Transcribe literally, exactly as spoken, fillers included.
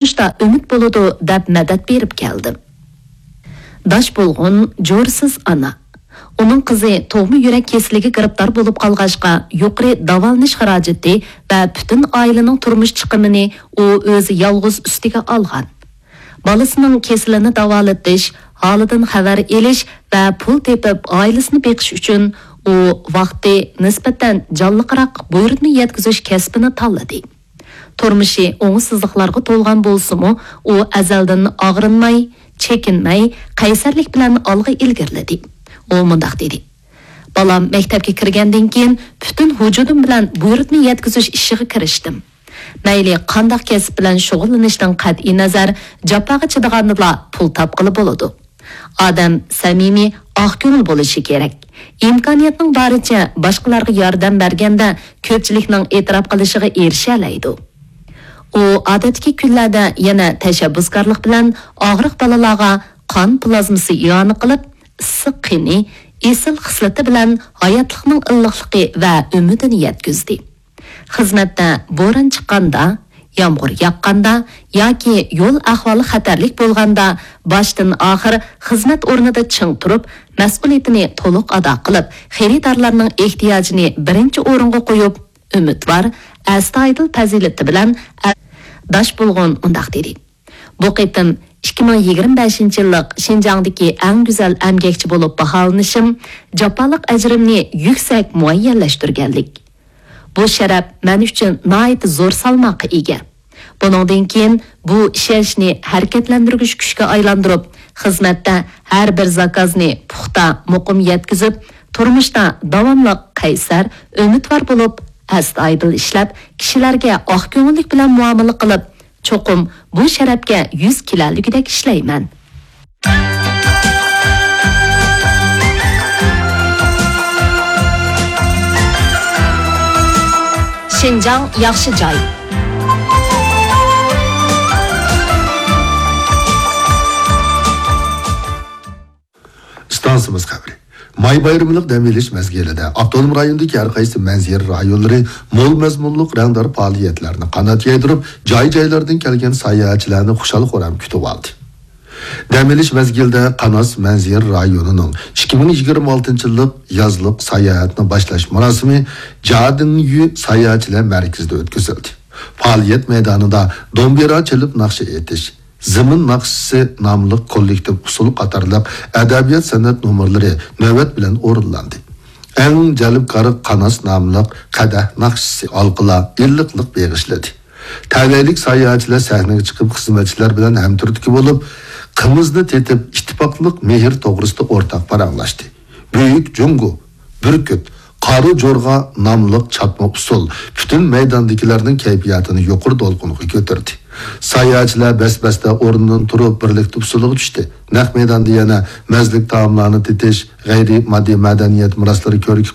تۇرمۇشتا ئۈمىد بولىدۇ، دەپ مەدەت بېرىپ كەلدىم. داش بولغۇن جورىسىز ئانا. ئۇنىڭ قىزى تۇغما يۈرەك كېسىلىگە گىرىپتار بولۇپ قالغاچقا، يۇقىرى داۋالىنىش خىراجىتى ۋە پۈتۈن ئائىلىنىڭ تۇرمۇش چىقىمىنى ئۇ ئۆزى يالغۇز ئۈستىگە ئالغان. بالىسىنىڭ كېسىلىنى داۋالىتىش، ھالىدىن خەۋەر ئېلىش ۋە پۇل تېپىپ ئائىلىسىنى بېقىش ئۈچۈن ئۇ ۋاقتى نىسبەتەن جانلىقراق بۇيرۇتما يەتكۈزۈش كەسپىنى تاللىدى. تۇرمۇشى ئوڭۇشسىزلىقلارغا تولغان بولسىمۇ، ئۇ ئەزەلدىن ئاغرىنماي، چېكىنمەي، قەيسەرلىك بىلەن ئالغا ئىلگىرىلىدى. ئۇ مۇنداق دېدى: «بالام مەكتەپكە كىرگەندىن كېيىن، پۈتۈن ۋۇجۇدۇم بىلەن بۇيرۇتما يەتكۈزۈش ئىشىغا كىرىشتىم. مەيلى قانداق كەسىپ بىلەن شۇغۇللىنىشتىن قەتئىينەزەر، جاپاغا چىدىغاندىلا پۇل تاپقىلى بولىدۇ.» ئادەم سەمىمىي، ئاق كۆڭۈل بولۇشى كېرەك. ئىمكانىيەتنىڭ بارىچە باشقىلارغا ياردەم بەرگەندە، كۆپچىلىكنىڭ ئېتىراپ قىلىشىغا ئېرىشەلەيدۇ. ئۇ ئادەتتىكى كۈنلەردە يەنە تەشەببۇسكارلىق بىلەن ئاغرىق بالىلارغا قان پلازمىسى ئىئانە قىلىپ، ئىسسىق قېنى، ئېسىل خىسلىتى بىلەن ھاياتلىقنىڭ ئىللىقلىقى ۋە ئۈمىدىنى يەتكۈزدى. خىزمەتتە بوران چىققاندا، يامغۇر ياغقاندا ياكى يول ئەھۋالى خەتەرلىك بولغاندا، باشتىن ئاخىر خىزمەت ئورنىدا چىڭ تۇرۇپ، مەسئۇلىيىتىنى تولۇق ئادا قىلىپ، خېرىدارلارنىڭ ئېھتىياجىنى بىرىنچى ئورۇنغا قويۇپ، ئۈمىدۋار، ئەستايىدىل پەزىلىتى بىلەن ئە-، داش بولغۇن مۇنداق دېدى: «بۇ قېتىم ئىككى مىڭ يىگىرمە بەشىنچى يىللىق شىنجاڭدىكى ئەڭ گۈزەل ئەمگەكچى بولۇپ باھالىنىشىم جاپالىق ئەجرىمنى يۈكسەك مۇئەييەنلەشتۈرگەنلىك. بۇ شەرەپ مەن ئۈچۈن ناھايىتى زور سالماققا ئىگە. بۇنىڭدىن كېيىن بۇ ئىشەنچنى ھەرىكەتلەندۈرگۈچ كۈچكە ئايلاندۇرۇپ، خىزمەتتە ھەر بىر زاكازنى پۇختا، مۇقىم يەتكۈزۈپ، تۇرمۇشتا داۋاملىق قەيسەر، ئۈمىدۋار بولۇپ، ئەستايىدىل ئىشلەپ، كىشىلەرگە ئاق كۆڭۈللۈك بىلەن مۇئامىلە قىلىپ، چوقۇم بۇ شەرەپكە يۈز كېلەلىگۈدەك ئىشلەيمەن.» شىنجاڭ ياخشى جاي. ئىستانسىمىز خەۋىرى. ماي بايرىملىق دەم ئېلىش مەزگىلىدە ئاپتونوم رايوندىكى ھەر قايسى مەنزىرە رايونلىرى مول مەزمۇنلۇق رەڭدار پائالىيەتلەرنى قانات يايدۇرۇپ، جاي-جايلاردىن كەلگەن ساياھەتچىلەرنى خۇشال-خۇرام كۈتۈۋالدى. دەم ئېلىش مەزگىلىدە قاناس مەنزىرە رايونىنىڭ ئىككى مىڭ يىگىرمە ئالتىنچى يىللىق يازلىق ساياھەتنى باشلاش مۇراسىمى جادىڭيۈ ساياھەتچىلەر مەركىزىدە ئۆتكۈزۈلدى. پائالىيەت مەيدانىدا دومبىرا چېلىپ ناخشا ئېيتىش، زېمىن ناخشىسى ناملىق كوللېكتىپ ئۇسسۇل قاتارلىق ئەدەبىيات سەنئەت نومۇرلىرى نۆۋەت بىلەن ئورۇنلاندى. ئەڭ جەلپكار قاناس ناملىق قەدەھ ناخشىسى ئالقىلار ئىللىقلىق بېغىشلىدى. تەلەيلىك ساياھەتچىلەر سەھنىگە چىقىپ، خىزمەتچىلەر بىلەن ھەمتۈرتكە بولۇپ، قىمىزنى تېتىپ، ئىتتىپاقلىق، مېھىر توغرىسىدا ئورتاق پاراڭلاشتى. بۈيۈك جۇڭگو، بۈركۈت، قارا جورغا ناملىق چاتما ئۇسسۇل پۈتۈن مەيداندىكىلەرنىڭ كەيپىياتىنى يۇقىرى دولقۇنغا كۆتۈردى. ساياھەتچىلەر بەس-بەستە ئورنىدىن تۇرۇپ، بىرلىكتە ئۇسسۇلغا چۈشتى. نەق مەيداندا يەنە مەززىلىك تائاملارنى تېتىش، غەيرىي ماددىي مەدەنىيەت مىراسلىرى كۆركى